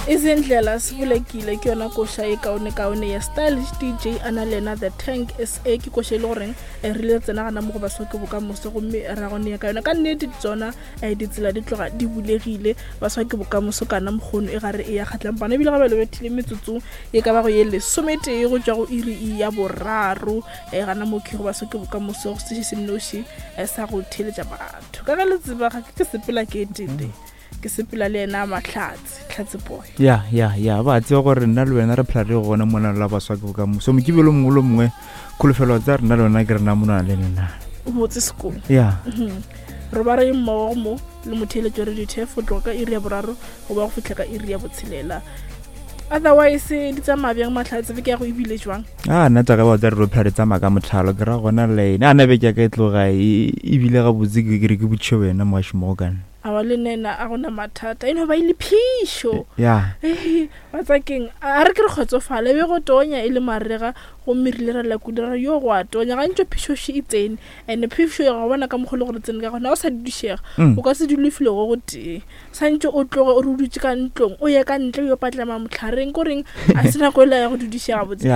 Izindlela Sibulekile ke yona koša e kaonekaone ya Stylish DJ a na le yena The Tank SA ke koša e le goreng eh, re ile tsena gana mo go baswa ke bokamoso gomme ra go nea ka yona ka nnete tsona eh, ditsela di tloga di bulegile baswa ke bokamoso kana mokgono e gare e ya kgatlang bana ebile ga ba lebethile metsotso e ka ba go ye lesometee go tšwa go iri ya boraro eh, gana mo ke go baswa ke bokamoso go se se nnoši sa go theeletša batho ka ge le tseba ga ke sepela ke etete ke sepela le yena mahlatse tlhatse boy ya ya ya ba tseba gore nna le wena re phela re gona mona la baswa ke bokamoso mokibelo mongwe le mongwe kholofelo tsa rena le wena ke rena mona le lena botse sekolo ya mhm. re ba re mmogo mo le motheeletšo re dithefo tloga ka iri ya boraro go ba go fitlha ka iri ya botshelela otherwise di tsamaya bjang mahlatse beke ya go ebile jwang a nna tsaka ba tsa re ro phela re tsamaya ka motlhalo ke ra gona le ene a na beke ya ka e tloga e, ebile gabotse ke re ke botšhe wena moašimogo kana Awa le nena a gona mathata e no ba e le phišo ya batsakeng a re ke re kgotsofale be go tonya e le marega gomme re ile ra lakuda ra yo go a tonya gantšo phišoši e tsene and phišo ya go bona ka mokgwa le gore tsene ka gona o sa dudišega mm. o ka se dule file go go tee santše o tloge o re o dutse ka ntlong o ye ka ntle o yo patlama motlhareng ko reng a se nako e la ya go dudišega botse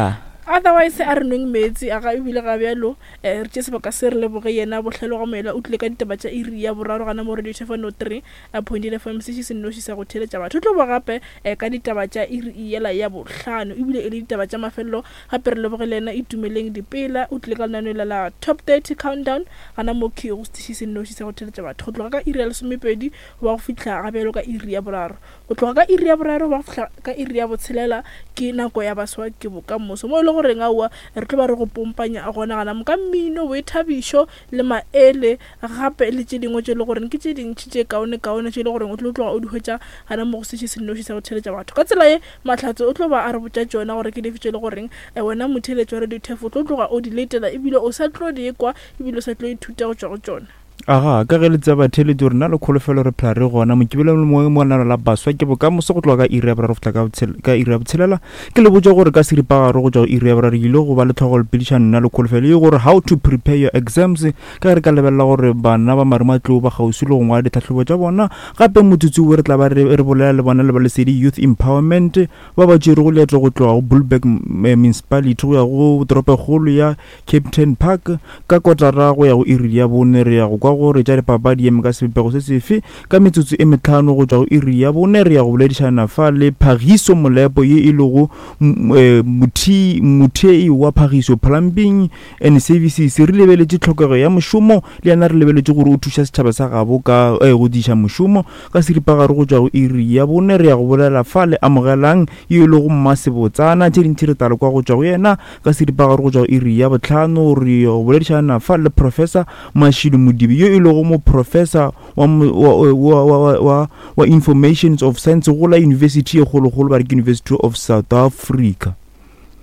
otherwise a re nweng meetse a ga ebile ga bjalo Eh, re tše sebaka se re leboge yena Bohlelo ga Moela o tlile ka ditaba tša iri ya boraro gana mo Radio Tšhefano 3 eh, point FM seši se nnoši sa go theeletša batho. O tlo ba gape eh, ka ditaba tša iri yela ya bohlano ebile e le ditaba tša mafelelo. Gape re leboge le yena Itumeleng Dipela o tlile ka lenaneo la la Top 30 Countdown gana mo key go setiši se nnoši sa go theeletša batho go tloga ka iri ya lesomepedi go ba go fihla ga bjalo ka iri ya boraro. Go tloga ka iri ya boraro ba go fihla ka iri ya botshelela ke nako ya baswa ke bokamoso, mo e le goreng aowa re tlo ba re go pompanya gona gana mo ka mmino, boithabišo le maele gape le tše dingwe tše e le goreng ke tše dintši tše kaonekaone tše e le goreng o tlo tloga o di hwetša gana mo go seši se nnoši sa go theeletša batho. Ka tsela ye Mahlatse o tlo ba a re botša tšona gore ke dife tše e le goreng wena motheeletši wa Radio Turf o tlo tloga o di letela ebile o sa tlo di kwa ebile o sa tlo ithuta go tšwa go tšona. Aga, ka ge le tseba batheeletši gore nna le kholofelo re phela re gona mokibelo le mongwe mo lenano la baswa ke bokamoso go tloga ka iri ya boraro go fihla ka iri ya botshelela. Ke le botša gore ka seripagare go tšwa go iri ya boraro ke ile go ba le tlhogolepedišano nna le kholofelo ye gore how to prepare your exams ka ge re ka lebelela gore bana ba marematlou ba kgauswi le go ngwala ditlhahlobo tša bona. Gape motsotso wo re tla ba re bolela le bona le ba Lesedi Youth Empowerment ba ba tšerego leeto go tloga go Bulberg Municipality go ya go toropokgolo ya Kempton Park, ka kotara go ya go iri ya bone re ya go kwa gore tša dipapadi eme ka sebopego se sefe. Ka metsotso e metlhano go tšwa go iri ya bone re ya go boledišana fa le Phagiso Molepo ye e lego eh, mothei wa Phagiso Plumbing and Services. Re lebeletše tlhokego ya mošomo le yena re lebeletše gore o thuša setšhaba sa gabo ka eh, go diša mošomo. Ka seripagare go tšwa go iri ya bone re ya go bolela fa le Amogelang ye e lego mmasebotsana. Tše dintši re tla le kwa go tšwa go yena. Ka seripagare go tšwa go iri ya bohlano re yo boledišana fa le Professor Mashilo Modibe yo e lego moprofesa wa, wa, wa, wa, wa, wa Informations of Science go la yunibesithi ye kgolokgolo ba re ke University of South Africa.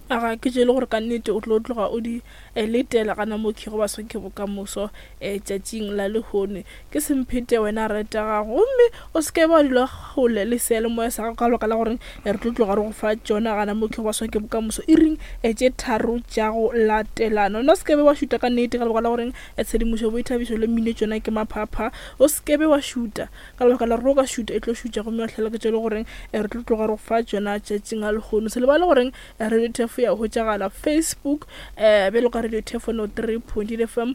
Aga ke tše le gore ka nnete o tlo tloga o di eh, letela gana mo kego ba swanke bokamoso eh, tšatšing la lehono. Ke semphete wena reta gago gomme o se ke wa dula kgole le seyalemoya sa gago ka lebaka la gore re tlo tloga re go fa tšona gana mo ke go baswa ke bokamoso iring tše tharo tša go latelana. Wena o se ke be wa šuta ka nnete ka lebaka la gore tshedimošo, boithabišo le mmino tšona ke maphapha. O se ke be wa šuta ka lebaka la gore o ka šuta e tlo šutša gomme wa hlalwa ke tše le goreng re tlo tloga re go fa tšona tšatšing la lehono. Se lebale goreng Radio Turf ya hwetšagala Facebook bjalo ka Radio Turf 103.8 FM,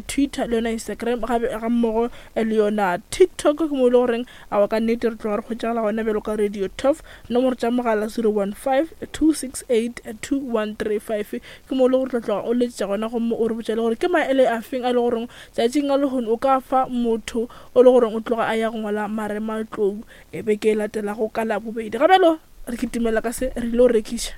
Twitter le yona Instagram gape ga mmogo le yona TikTok ke mo e le goreng awa ka nnete re tloga re hwetšagala gona bjalo ka Radio Turf. Nomoro tša mogala 015 268 2135 ke mo e le gore tla tloga o letša gona gomme o re botša le gore ke maele a feng a le goreng tšatšing la lehono o ka fa motho o le goreng o tloga a ya go ngwala marematlou e beke e latelago ka Labobedi. Ga bjalo re kitimela ka se re ile go rekiša.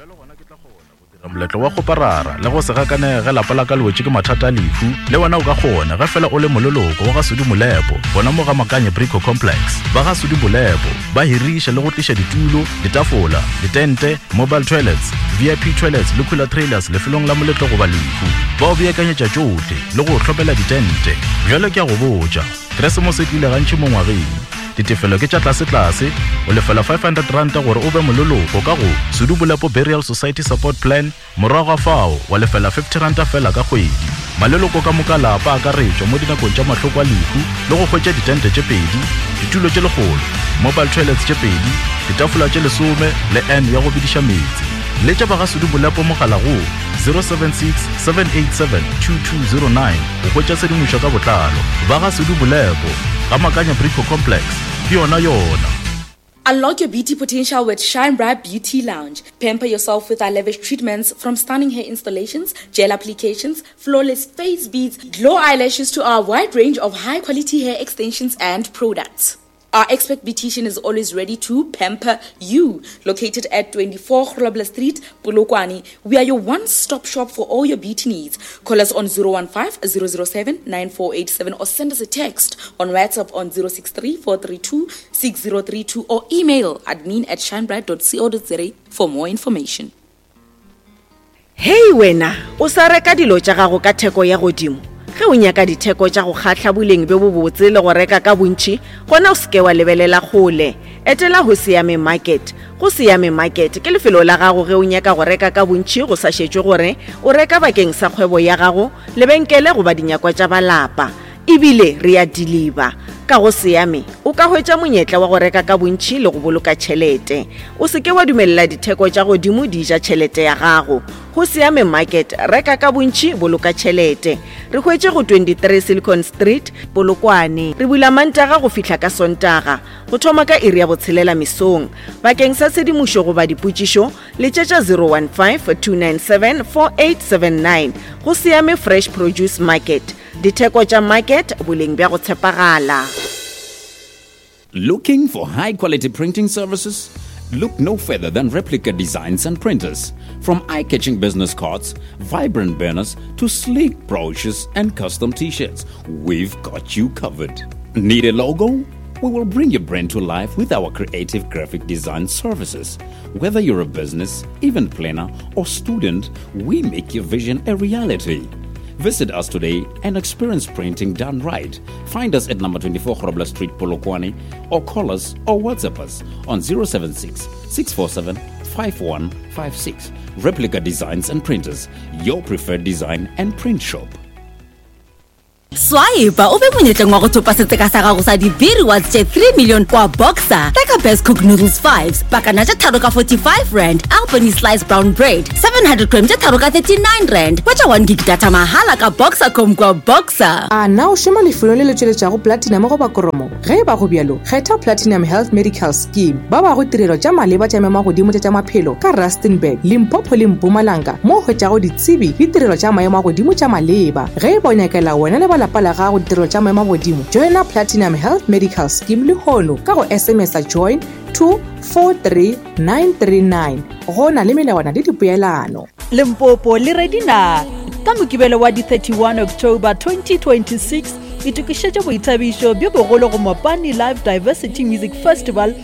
Bjalo gona ke tla kgona go dira moletlo wa kgoparara le go se gakanege ge lapa la ka le wetše ke mathata a lehu. Le wena o ka kgona ge fela o le moleloko wa ga Sudi Molepo gona mo ga Makanye Brico Complex. Ba ga Sudi Molepo ba hiriša le go tliša ditulo, ditafola, ditente, mobile toilets, VIP toilets le cooler trailers lefelong la moletlo goba lehu. Ba o beakanyetša tšohle le go o hlopela ditente. Bjale ke a go botša, Keresemose e tlile gantši mo ngwageng. Ditefelo ke tša tlasetlase, o lefela R500 gore o be moleloko ka go Sudu Bolepo Burial Society Support Plan, morago ga fao wa lefela R50 fela ka kgwedi. Maleloko ka moka a lapa a akaretšwa mo dinakong tša mahloko a lehu le go hwetša ditente tše pedi. Ditulo tše lekgolo, mobile toilets tše pedi, ditafola tše lesome le N ya go bidiša meetse. Letša ba ga Sudu Bolepo mogala go 076 787 2209 go hwetša tshedimošo ka botlalo. Ba ga Sudu Bolepo, ga Makanya Brico Complex, ke yona yona. Unlock your beauty potential with Shine Bright Beauty Lounge. Pamper yourself with our lavish treatments from stunning hair installations, gel applications, flawless face beads, glow eyelashes to our wide range of high quality hair extensions and products. Our expert beautician is always ready to pamper you. Located at 24 Grobler Street, Polokwane, we are your one-stop shop for all your beauty needs. Call us on 015 007 9487 or send us a text on WhatsApp on 063 432 6032 or email admin at shinebright.co.za for more information. Hei wena, o sa reka dilo tša gago ka theko ya godimo? Ge o nyaka ditheko tša go kgahla boleng bjo bobotse le go reka ka bontši, gona o se ke wa lebelela kgole. Etela Hosiame Market. Go Siame Market ke lefelo la gago ge o nyaka go reka ka bontši go sa šetšwe gore o reka bakeng sa kgwebo ya gago, lebenkele goba dinyakwa tša ba lapa. E bile re a diliba. Ka go Siame, o ka hwetša monyetla wa go reka ka bontši le go boloka tšhelete. O se ke wa dumelela ditheko tša godimo di ja tšhelete ya gago. Go Siame Market, reka ka bontši, boloka tšhelete. Re hwetše go 23 Silicon Street, Polokwane. Re bula Mantaga go fihla ka Sontaga, go thoma ka iri ya botshelela mesong. Bakeng sa tshedimošo goba dipotšišo, letšetša 015 297 4879. Go Siame Fresh Produce Market. Ditheko tša market, boleng bja go tshepagala. Looking for high quality printing services? Look no further than Replica Designs and Printers. From eye catching business cards, vibrant banners, to sleek brochures and custom t shirts, we've got you covered. Need a logo? We will bring your brand to life with our creative graphic design services. Whether you're a business, event planner, or student, we make your vision a reality. Visit us today and experience printing done right. Find us at number 24 Grobler Street, Polokwane, or call us or WhatsApp us on 076 647 5156. Replica Designs and Printers, your preferred design and print shop. Swipe o be monyetleng wa go thopa setseka sa gago sa di-B rewards tše 3 million kwa Boxer. Reka Best Cook Noodles 5s, pakana tše tharo ka 45 rand, Albany Slice Brown Bread, 700 gram tše tharo ka 39 rand. Hwetša 1 gig data mahala ka Boxercom kwa Boxer. A na o šoma lefelong le le tšweletšago platinum goba kromo? Ge e ba go bjalo, kgetha Platinum Health Medical Scheme. Ba bago tirelo tša maleba tša maemo a godimo tša tša maphelo ka Rustenburg, Limpopo le Mpumalanga mo o hwetšago ditsebi le tirelo tša maemo a godimo tša maleba. Ge e ba o nyakela wena le ba lapa la gago ditirelo tša maemo a godimo, joina Platinum Health Medical Scheme lehono ka go SMS-a join to 43939. Go na le melawana le dipoelano. Limpopo le ready na? Ka Mokibelo wa di 31 October 2026, itokišetše boithabišo bjo bogolo go Mopani Live Diversity Music Festival.